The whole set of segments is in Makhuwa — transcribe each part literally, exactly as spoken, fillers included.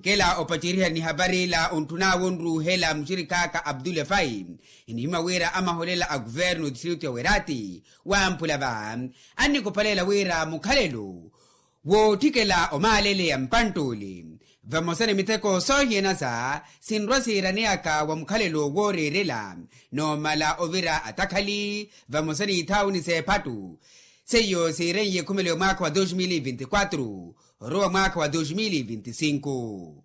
Kela opaceriha ni hapari ila ontthun'awe onruuhela muxirik'aka abdule fai, enihimya wira amaholela a kuvernu otistritu ya werati wamphula va annikopalela wira mukhalelo wootthikela omaalele ya mpanttuli vamosa ni miteko soohiyanasa sinrwa siiraneyaka wa mukhalelo wooreerela noomala ovira atakhali vamosa n'ithaawuni s'ephattu. Seiyo siireiye ekhumelo ya mwaakha wa dos mil vinti kwatru orowa mwaakha wa dos mil vinti sinku.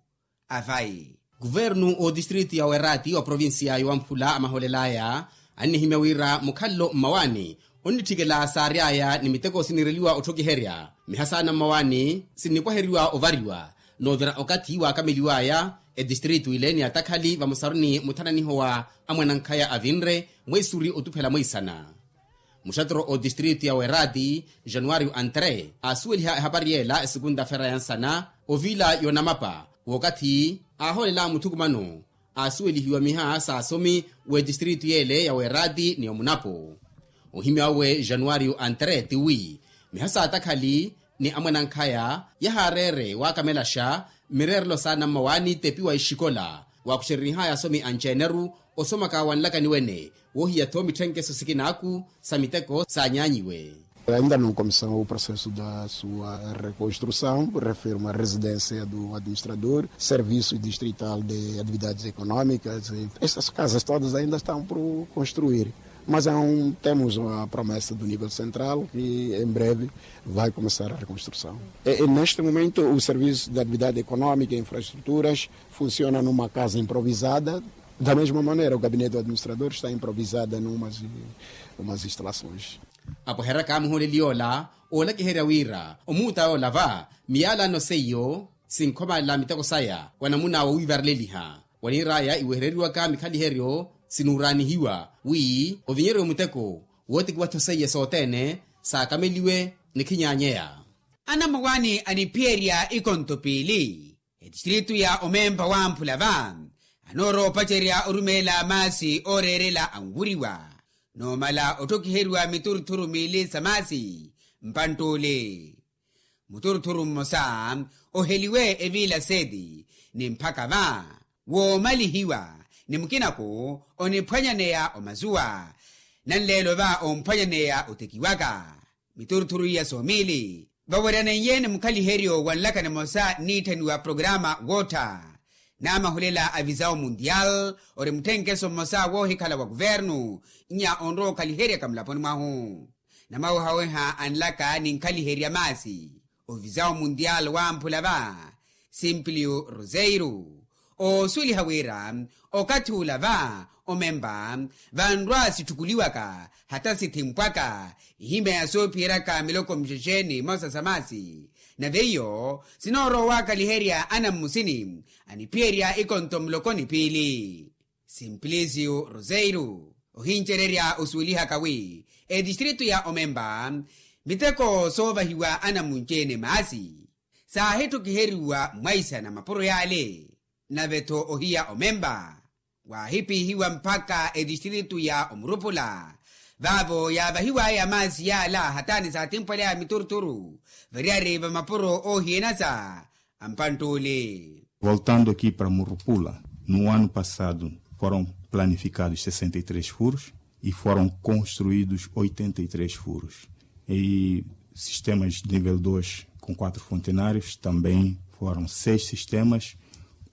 Avayi kuvernu otistritu ya werati wa provincia ya wamphula amaholel'aya annihimya wira mukhalelo mmawaani onnitthikela saary'aya ni miteko siniireliwa otthokiherya miha saana mmawaani sinnipwaheriwa ovariwa noovira okathi waakameliw'aya etistritu ile ni atakhali vamosaru ni muthananiho wa amwanankhaya avinre mweisuri otuphela mweisana. Muxatero otistritu ya werati januario antre aasuweliha ehapari y'ela esukunta fera ya nsana ovila yoonamapa w'okathi aahoolela muthukumano aasuwelihiwa miha s'asomi w'etistritu y'ele ya werati ni omunapo. Ohimya awe januario antre tiwi miha s'atakhali ni amwanankhaya yahaareere waakamelaxa mmireerelo saana mmawaani tepiwa exikola waakuxerenih'aya asomi anci-eneru osomaka wa nlakani wene woohiya-tho mitthenkeso sikinaaku sa miteko saanyaanyiwe. Ainda não começou o processo da sua reconstrução refiro uma residência do administrador serviço distrital de atividades econômicas essas casas todas ainda estão por construir. Mas temos a promessa do nível central que em breve vai começar a reconstrução. Neste momento o serviço de atividade econômica e infraestruturas funciona numa casa improvisada. Da mesma maneira o gabinete do administrador está improvisada numas instalações. Apweheryaka muhooleli yoola oolakiherya wira omuuta yoola va miyalano seiyo sinkhomalela miteko saya wa namuna wowiivareleliha waniir'aya iwehereriwaka mikhaliheryo sinuuraanihiwa wi ovinyeryo muteko wootekiwa-tho seiye sothene saakameliwe ni khinyaanyeya. Anammawaani aniphiyerya ikonto piili etistritu ya omempa wamphula va anoorowa opacerya orumeela maasi ooreerela anwuriwa noomala otthokiheriwa miturthuru miili sa maasi mpantt'ule. Muturthuru mmosa oheliwe evila seti ni mphaka va woomalihiwa ni mukinako oniphwanyaneya omazuwa nanleelo va omphwanyaneya otekiwaka. Miturthuru iya soomili vaweryaneiye ni mukhaliheryo wa nlaka nimosa nniitthaniwa programa woottha naamahulela a visao mundial ori mutthenkeso mmosa woohikhala wa kuvernu nnya onrowa okhaliheryaka mulaponi mwahu. Namawehaweha a nlaka ni nkhaliherya maasi ovisao mundial wamphula va simplio roseiro oosuweliha wira okathi ula va omempa vanrwa sitthukuliwaka hata sithimpwaka ihimya ya soophiyeryaka miloko mixexe ni mmosa sa maasi nave iyo sinoorowa owaakaliherya anammusini aniphiyerya ikonto muloko ni piili. Simplício roseiro ohincererya osuwelihaka wi etistritu ya omempa miteko soovahiwa anamunci-ene maasi saahittokiheriwa mwaisana mapuro yaale. Nave-tho ohiya omempa waahipiihiwa mpakha etistritu ya omurupula vaavo yaavahiw'aya maasi yaala hataani saatimphwaleya mituruturu variyari va mapuro oohiyanasa a mpantt'ule. Voltando aqui para murupula, no ano passado foram planificados sessenta e três furos e foram construídos oitenta e três furos. E sistemas de nível dois com quatro fontenários também foram seis sistemas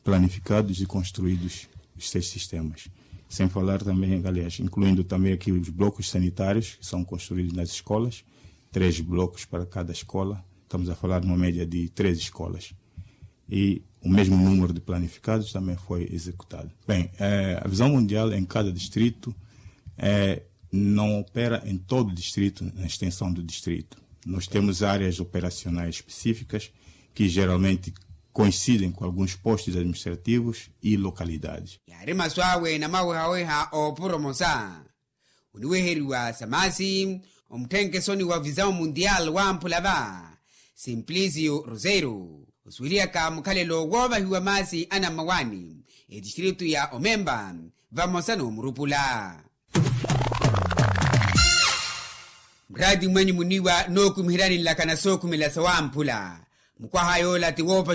planificados e construídos os seis sistemas. Sem falar também, aliás incluindo também aqui os blocos sanitários que são construídos nas escolas, três blocos para cada escola. Estamos a falar de uma média de três escolas e o mesmo número de planificados também foi executado. Bem, a visão mundial em cada distrito não opera em todo o distrito na extensão do distrito. Nós temos áreas operacionais específicas que geralmente coincidem com alguns postos administrativos e localidades. Yaari masu awe namawehaweha oopuro mosa oniweheriwa sa maasi omutthenke soni wa visão mundial wamphula va simplício roseiro osuwelihaka mukhalelo woovahiwa maasi anammawaani etistritu ya omempa vamosa n'omurupula. Muraati mwenyu muniwa nookumiheryani nlakana sookhumela sawamphula mukwaha yoola ti woopa